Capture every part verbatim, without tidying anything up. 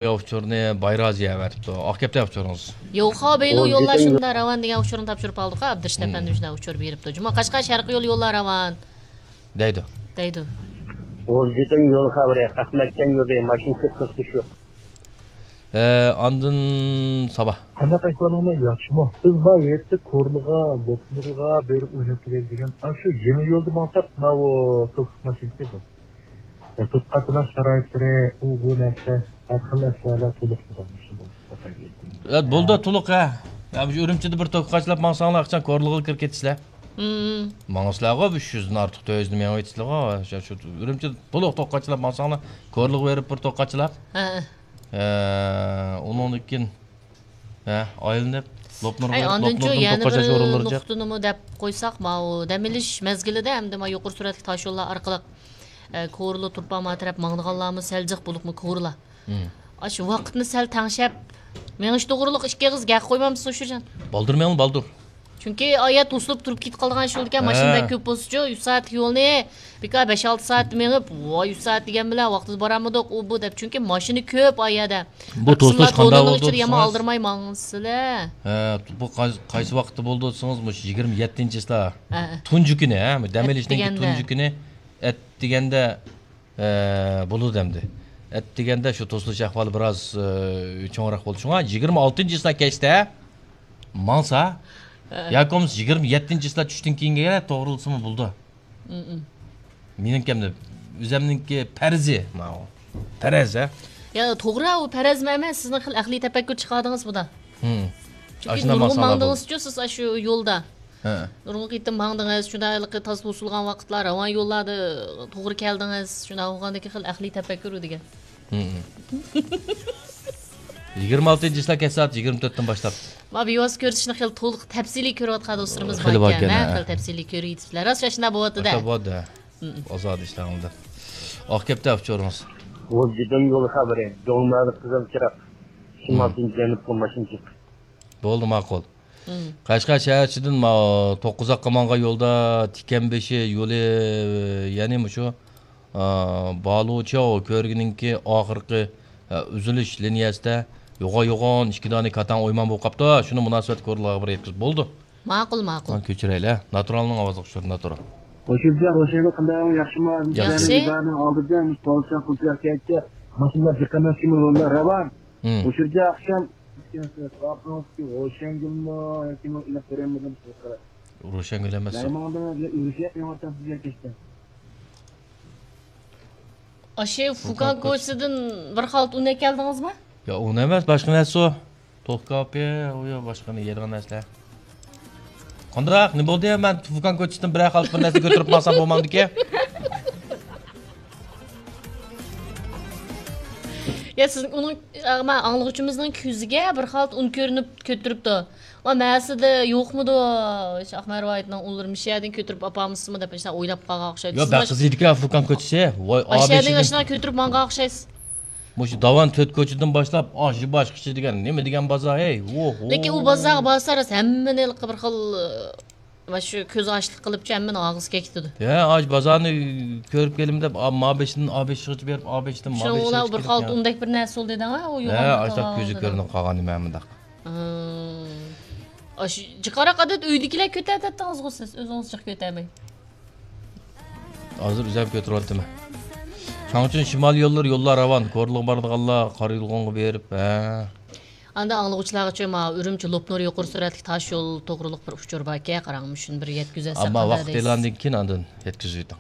ئۇچۇرنى بايرازى ئەۋەتىپتۇ. ئاق كەپتە ئۇچۇرىڭىز. يوخا بەيلۇ يوللار شۇنداق راۋان دېگەن ئۇچۇرنى تاپشۇرۇپ ئالدۇق، ئابدۇرېشىت ئەپەندى شۇنداق ئۇچۇر بېرىپتۇ. جۇمۇ قەشقەر شەرقىي يول يوللار راۋان دەيدۇ. دەيدۇ. غۇلجىدىن يول خەۋىرى، ئەخمەتجان يولى، ماشىنا كۆپ توختىشى يوق. ئە، ئاندىن سابا. قانداق ئەھۋالىڭلار، ياخشىمۇ؟ بىز بار يەتتە كورلىغا، لوپنۇرغا بېرىپ ئويناپ كېلەي دېگەن. ئاشۇ يېڭى يولدا ماڭساق، ماۋۇ توك ماشىنىسى بار. توك قاچىلاش شارائىتلىرى، ئۇ بۇ نەرسە، ھەر خىل ئەسۋابلار تولۇق بولغان. ئە، بولدى، تولۇق، ھە. يا، مۇشۇ ئۈرۈمچىدە بىر توك قاچىلاپ ماڭساڭلار، ئاخشام كورلىغا كىرىپ كېتىسىلەر. مم. ماڭىسىلەرغۇ، ئۈچ يۈزدىن ئارتۇق، تۆت يۈزنى مېڭىۋېتىسىلەرغۇ. شۇ، شۇ ئۈرۈمچىدە تولۇق توك قاچىلاپ ماڭساڭلار، كورلىغا بېرىپ بىر توك قاچىلاپ. ھە. ئە، ئۇنىڭدىن كېيىن، ھە، ئايلىنىپ، لوپنۇرغا ئەي، بېرىپ، ئاندىنچۇ لوپنۇردىن يەنە بىر توققاچاش ئورۇنلىرىغىچە. نۇقتىنىمۇ دەپ قويساق، ماۋۇ دەم ئېلىش مەزگىلىدە ئەمدى ما يۇقىرى سۈرئەتلىك تاشيوللار ئارقىلىق، ئە، كورلا تۇرپان ما تەرەپ ماڭىدىغانلارمۇ سەل جىق، بولۇپمۇ كورلا. مم. ئاشۇ ۋاقىتنى سەل تەڭشەپ مېڭىش توغرۇلۇق ئىككى ئېغىز گەپ قويمامسىز، ئۇشۇرجان؟ بالدۇر مېڭىڭ، بالدۇر. چۈنكى ئايا توسۇلۇپ تۇرۇپ كېتىپ قالىدىغان ئىش بولىدىكەن، ماشىنا ھە. بەك كۆپ بولسىچۇ، ئۈچ سائەتلىك يولنى بىكار بەش-ئالتە سائەت مېڭىپ، ۋاي، ئۈچ سائەت دېگەن بىلەن ۋاقتىدا بارالمىدۇق، ئۇ بۇ دەپ. چۈنكى ماشىنا كۆپ ئايەدە. بۇ توسۇلۇش قانداق بولدى دېسىڭىز؟ يامان ئالدىرىماي ماڭسىلە. ھە، بۇ قاي-، قايسى ۋاقىتتا بولدى دېسىڭىز، مۇشۇ يىگىرمە يەتتىنچى چىسلا. ھە. تۇنجى كۈنى، ھە، دەم ئېلىشنىڭ ئەتىگەندە. تۇنجى كۈنى، ئەتىگەندە، ئە، بولىدۇ ئەمدى. ئەتىگەندە شۇ توسۇلۇش ئەھۋالى بىراز، ئە، چوڭراق بولدى. شۇڭا يىگىرمە ئالتىنچى چىسلا كەچتە ماڭسا، ھە. ياكى بولمىسا يىگىرمە يەتتىنچى چىسلا چۈشتىن كېيىنگە توغرىلىسىمۇ بولىدۇ. مم. مېنىڭكى ئەمدى ئۆزەمنىڭكى پەرىزى ماۋۇ. پەرەز، ھە؟ يا، توغرا، ئۇ پەرەزمۇ ئەمەس، سىزنىڭ خېلى ئەقلىي تەپەككۇر چىقاردىڭىز بۇدا. مم. چۈنكى ئاشۇنداق نۇرغۇن ماڭساڭلار بولىدۇ. ماڭدىڭىزچۇ سىز ئاشۇ يولدا. ھە. نۇرغۇن قېتىم ماڭدىڭىز، شۇنداق ھېلىقى تازا توسۇلغان ۋاقىتلار، راۋان يوللاردا توغرا كەلدىڭىز، شۇنداق بولغاندىكىن خېلى ئەقلىي تەپەككۇر دېگەن. ھم. يىگىرمە ئالتىنچى چىسلا كەچ سائەت يىگىرمە تۆتتىن باشلاپ. ما بىۋاسىتە كۆرسىتىشنى خېلى تولۇق تەپسىلىي كۆرۈۋاتقان دوستلىرىمىز خېلى باركەن، باركەن، ھە، ھە. خېلى تەپسىلىي كۆرۈۋېتىپسىلەر. راست شۇنداق بولۇۋاتىدۇ. باشلاپ بولدى. ھم. ئازادە ئىشلەڭلار. ئاق كەپتە ئۇچۇرىڭىز. غۇلجىدىن يول خەۋىرى، دۆڭمەلى قىزىل چىراغ. شىمالدىن جەنۇبقا ماشىنا چىقتى. بولدى، ماقۇل. مم. قەشقەر شەھەر ئىچىدىن ما-، توققۇزاققا ماڭغان يولدا تىكەن بېشى يولى، يەنى مۇشۇ، ئا، بالۇچياۋ كۆۋرۈكىنىڭكى ئاخىرقى، ئا، ئۈزۈلۈش لىنىيەسىدە يوغان-يوغان ئىككى دانە كاتان ئويمان بولۇپ قاپتۇ. شۇنى مۇناسىۋەتلىك ئورۇنلارغا بىر يەتكۈزۈپ بولدى. ماقۇل، ماقۇل. ھا، كۆچۈرەيلى. ناتۇرالنىڭ ئاۋازلىق ئۇچۇرى، ناتۇرال. ھوشۇمجان، ھوشۇمجان، قانداق، ياخشىمۇ؟ ياخشى. ئالدىدا مۇشۇ پولىسىيە قىلىپ كەتتى. ماشىنىلار جىققان ماشىنا راۋان. مم. ھوشۇمجان، ئاخشام ھوشەنگۈلمۇ ياكى مەن ئېلىپ بېرەلمىدىم. روشەنگۈل ئەمەس ئۇ. مەيمۇندىن ئۆرۈشۈپ مېڭىۋاتامسىز يەكەشتە. ئاشۇ فۇكان فۇكان كوچىسىدىن بىر خالتا ئۇن ئەكەلدىڭىزمۇ؟ يا، ئۇن ئەمەس، باشقا نەرسە ئۇ. توخۇ كاۋىپى، ئۇ يا باشقا يەيدىغان نەرسىلەر. قانداق؟ نېمە بولدى؟ مەن فۇكان كوچىسىدىن بىرەر خالتا بىر نەرسە كۆتۈرۈپ ماڭسام بولمامدىكى؟ يا، سىز ئۇنىڭ، ئا، ما، ئاڭلىغۇچىمىزنىڭ كۆزىگە بىر خالتا ئۇن كۆرۈنۈپ كۆتۈرۈپتۇ. ۋا، مەسىدە يوقمىدۇ؟ شاھ مەرۋايىتنىڭ ئۇنلىرى مۇشۇ يەردىن كۆتۈرۈپ ئاپارمىسىمۇ دەپ شۇنداق ئويلاپ قالغان ئوخشايدۇ. ياق، سىز بەك ماش-، قىز ئىدىكەن فۇكان كوچىسى. ۋاي، ئاشۇ يەردىن ئاشۇنداق كۆتۈرۈپ ماڭغان ئوخشايسىز. مۇشۇ داۋان تۆت كوچىدىن باشلاپ، ئاشۇ باشقىچە دېگەن نېمە دېگەن بازار، ھەي؟ ۋوھ، ۋوھ. لېكىن ئۇ بازارغا بارسا، راست ھەممىنى ھېلىقى بىر خىل، ۋە شۇ كۆز ئاچلىق قىلىپچە ھەممىنى ئاغزى كەكتىدۇ. ھە، ئاش بازارنى كۆرۈپ كېلىمەن دەپ، ئا، ما بېشىدىن ئا بېشىغىچە بېرىپ، ئا بېشىدىن ما بېشىغىچە كېلىپ. شۇڭا بىر خالتا ئۇندەك بىر نەرسە بولدى دەڭ، ئۇ ھە، يوغان ئاشۇنداق كۆزى كۆرۈنۈپ قالغان نېمە مۇنداق. ھىم. ئاشۇ جىقاراق ئادەت ئۆيدىكىلەر كۆتەرتەتتىڭىزغۇ سىز، ئۆزىڭىز جىق كۆتەرمەي. ھازىر ئۆزۈم كۆتۈرۈۋاتىمەن. شۇنىڭ ئۈچۈن شىمال يوللىرى، يوللار راۋان، كورلىغا بارىدىغانلار قارا يولغانغا بېرىپ، ھە. ئاندىن ئاڭلىغۇچىلارغىچۇ، ما، ئۈرۈمچى لوپنۇر يۇقىرى سۈرئەتلىك تاش يول توغرىلىق بىر ئۇچۇر باركەن، قاراڭ، مۇشۇنى بىر يەتكۈزەتسەك ئەمما قانداق ۋاقىت دەيسىز؟ ئېلاندىن كېيىن ئاندىن يەتكۈزۈۋېتىڭ.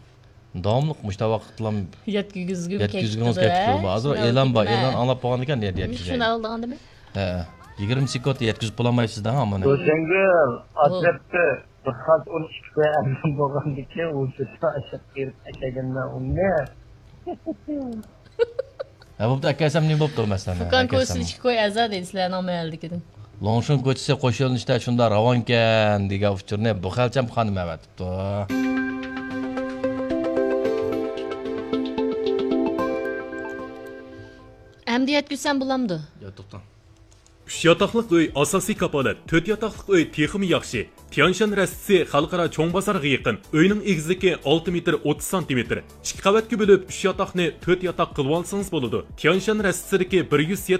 داۋاملىق مۇشۇنداق ۋاقىتلام يەتكۈزگۈم يەتكۈزگىڭىز كەتتى، كەتتى ھە؟ بولما. ھازىر شۇنداق ئېلان بار، بولدى، ئېلان ھە. ئاڭلاپ بولغاندىن كېيىن يەت-، يەتكۈزەي. شۇنى ئالدىغان دېمە. ھە، يىگىرمە سېكۇنت يەتكۈزۈپ بولالمايسىز-دە، ھامۇنى. روشەنگۈل، ئو. ئاچرىپتۇ. بىر خالتا ئۇن ئىككى كوي ئەرزان بولغاندىكىن، ئۇ شۇ ئاشاپ بېرىپ ئەكەلگەنمەن ئۇنى. ھە، بوپتۇ، ئەكەلسەم نېمە بوپتۇ، مەسىلەن، فۇكان ئەكەلسەم. كوچىسى ئىككى كوي ئەزا دەيدۇ سىلەرنىڭ مەھەللىدىكىدىن. لوڭشۇن كوچىسى قوش يۆنىلىشتە شۇنداق راۋانكەن دېگەن ئۇچۇرنى بۇ خەلچەم خانىم ئەۋەتىپتۇ. ئەمدى يەتكۈزسەم بولامدۇ؟ يا، توختاڭ. ئۈچ ياتاقلىق ئۆي ئاساسىي كاپالەت، تۆت ياتاقلىق ئۆي تېخىمۇ ياخشى. تيانشان رەستىسى خەلقئارا چوڭ بازارغا يېقىن. ئۆينىڭ ئېگىزلىكى ئالتە مېتىر ئوتتۇز سانتىمېتىر. ئىككى قەۋەتكە بۆلۈپ، ئۈچ ياتاقنى تۆت ياتاق قىلىۋالسىڭىز بولىدۇ. تيانشان رەستىسىدىكى بىر يۈز